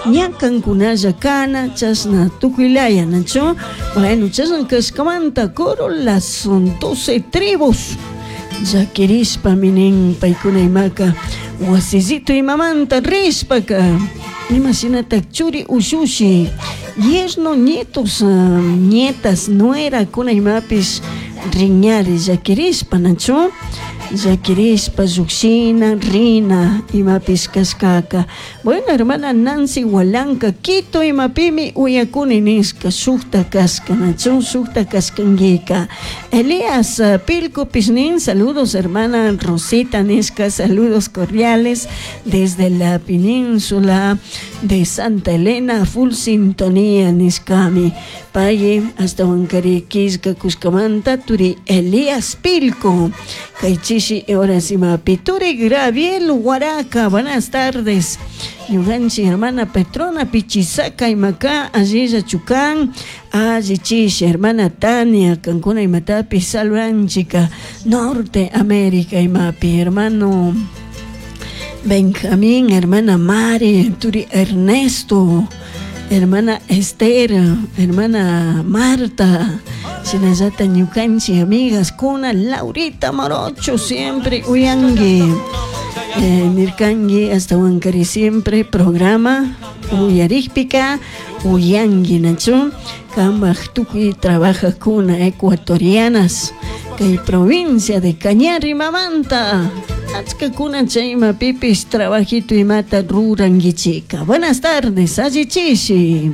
Ña kankunalla kana chashna tukuylaya, nachu? Bueno, chashna kashkamanta coro Las 12 Tribus llakirishpami nin paykuna imaka wasillito imamanta rishpaka imashinatak churi ushushi, yerno, nietos, nietas, nuerakuna imapish riñari llakirishpa, nachu? Llakirishpa llukshina rina imapish kashkaka. Bueno, hermana Nancy Walanka, Quito imapimi uyakuni nishka, shukta kashka, nachu? Shukta kashkankika. Elías Pilcopish nin: "Saludos, hermana Rosita", nishka, "saludos cordiales desde la península de Santa Elena, full sintonía", nishkami pay ashtawankari killka kushkamanta turi Elías Pilco kay chishi horas imapi. Turi Graviel Huaraca, buenas tardes, ñukanchik hermana Petrona Pichisaca imaka allilla chukan, alli chishi. Hermana Tania, kankuna imatapish saludanchika Norte América imapi, hermano Benjamín, hermana Mari, turi Ernesto, hermana Esther, hermana Marta, shinallata ñukanchik amigas kuna Laurita Morocho, siempre uyangi nirkanki, ashtawankari siempre programa uyarikpika uyanki, nachu? Kambaj tukuy trabajajkuna ecuatorianas kay provincia de Cañar imamanta achkakuna chay imapipish trabajito imata rurankichika. Buenas tardes, allichishi.